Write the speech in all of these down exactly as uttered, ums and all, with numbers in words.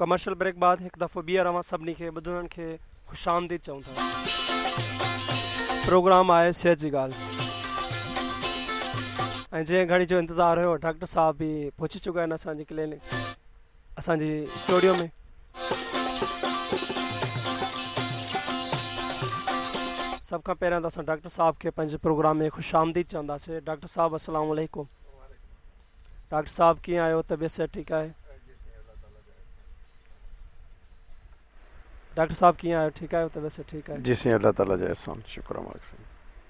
Commercial brake बाद हिकु दफ़ो ॿीहर अव्हां सभिनी खे ॿुधणनि खे ख़ुशि आमदीद चऊं था। प्रोग्राम आहे सिहत जी ॻाल्हि ऐं जंहिं घड़ी जो इंतज़ारु हुयो डॉक्टर साहिबु बि पहुची चुका आहिनि असांजी क्लिनिक असांजी स्टूडियो में। सभ खां पहिरियां त असां डॉक्टर साहिब खे पंहिंजे प्रोग्राम में ख़ुशि आमदीद चवंदासीं। डॉक्टर साहिबु अस्सलाम वालेकुम। डॉक्टर साहिबु कीअं आहियो, तबियत सिहत ठीकु आहे? डॉक्टर साहिबु कीअं आहियो, ठीकु आहियो, तबियत सिहत ठीकु आहे? जी साईं, अल्लाह ताला जो एहसान, शुक्र मालिक साईं।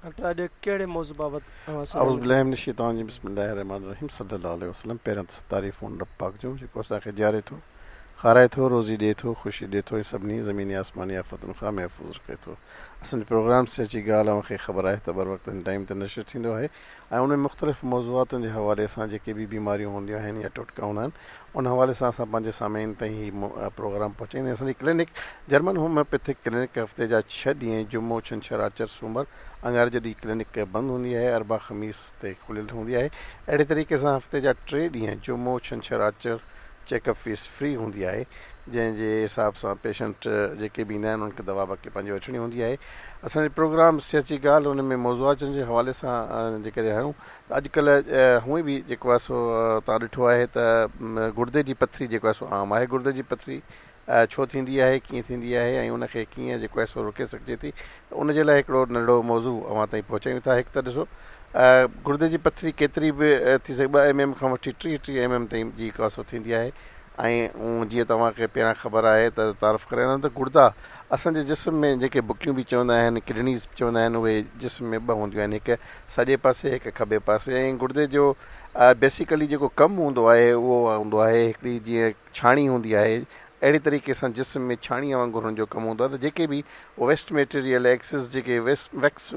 डॉक्टर अॼु कहिड़े मौज़ू बाबति अऊज़ु बिल्लाहि मिनश शैतानिर रजीम, बिस्मिल्लाहिर रहमानिर रहीम, सल्लल्लाहु अलैहि वसल्लम। पहिरियां त तारीफ़ उन रब पाक जो जेको असांखे जीआरे थो, खाराए थो, रोज़ी ॾिए थो, ख़ुशी ॾिए थो ऐं सभिनी ज़मीनी आसमानी आफ़तुनि खां महफ़ूज़ रखे थो। असांजो प्रोग्राम सिहत जी ॻाल्हि अव्हांखे ख़बर आहे त बर वक़्त हिन टाइम ते नशर थींदो आहे ऐं उन में मुख़्तलिफ़ मौज़ूआतुनि जे हवाले सां जेके बि बीमारियूं हूंदियूं आहिनि या टोटका हूंदा आहिनि उन हवाले सां असां पंहिंजे सामीन ताईं हीउ प्रोग्राम पहुचाईंदा आहियूं। असांजी क्लिनिक जर्मन होम्योपैथिक क्लिनिक हफ़्ते जा छह ॾींहं जुमो, छंछर, आचर, सूमर, अंगारे जो ॾींहुं क्लिनिक बंदि हूंदी आहे, अरबा ख़मीस ते खुलियल हूंदी आहे। अहिड़े तरीक़े सां हफ़्ते जा टे ॾींहं जुमो, छंछर, आचर चेकअप फ़ीस फ्री हूंदी आहे, जंहिंजे हिसाब सां पेशेंट जेके बि ईंदा आहिनि उन्हनि खे दवा बाक़ी पंहिंजी वठणी हूंदी आहे। असांजो प्रोग्राम सिहत जी ॻाल्हि उन में मौज़ूआतनि जे हवाले सां जेकॾहिं हणूं त अॼुकल्ह हूअं बि जेको आहे सो तव्हां ॾिठो आहे त गुर्दे जी पथरी जेको आहे सो आम आहे। गुर्दे जी पथरी छो थींदी आहे, कीअं थींदी आहे ऐं उनखे कीअं जेको आहे सो रोके सघिजे थी, उन जे लाइ हिकिड़ो नंढो मौज़ू अव्हां ताईं पहुचायूं था। हिकु त ॾिसो गुर्दे जी पथरी केतिरी बि थी सघे, ॿ एम एम खां वठी टीह टीह एम एम ताईं जेको आहे सो थींदी आहे। ऐं जीअं तव्हांखे पहिरियां ख़बर आहे त तारीफ़ करे त गुर्दा असांजे जिस्म में जेके बुकियूं बि चवंदा आहिनि, किडनीज़ बि चवंदा आहिनि, उहे जिस्म में ॿ हूंदियूं आहिनि, हिकु सॼे पासे हिकु खॿे पासे। ऐं गुर्दे जो बेसिकली जेको कमु हूंदो आहे उहो हूंदो आहे हिकिड़ी जीअं छाणी हूंदी आहे, अहिड़े तरीक़े सां जिस्म में छाणीअ वांगुरु हुनजो कमु हूंदो आहे। त जेके बि वेस्ट मटीरियल एक्सेस जेके वेस्ट वैक्स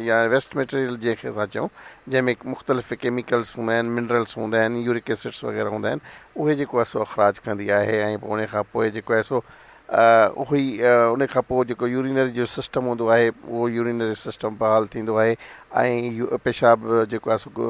या वेस्ट मटीरियल जंहिंखे असां चऊं, जंहिंमें मुख़्तलिफ़ केमिकल्स हूंदा आहिनि, मिनरल्स हूंदा आहिनि, यूरिक एसिड्स वग़ैरह हूंदा आहिनि, उहे जेको आहे सो अख़राज कंदी आहे। ऐं पोइ उन खां पोइ जेको आहे सो उहो ई उन खां पोइ जेको यूरिनरी जो सिस्टम हूंदो आहे उहो यूरिनरी सिस्टम बहाल थींदो आहे ऐं पेशाब जेको आहे सो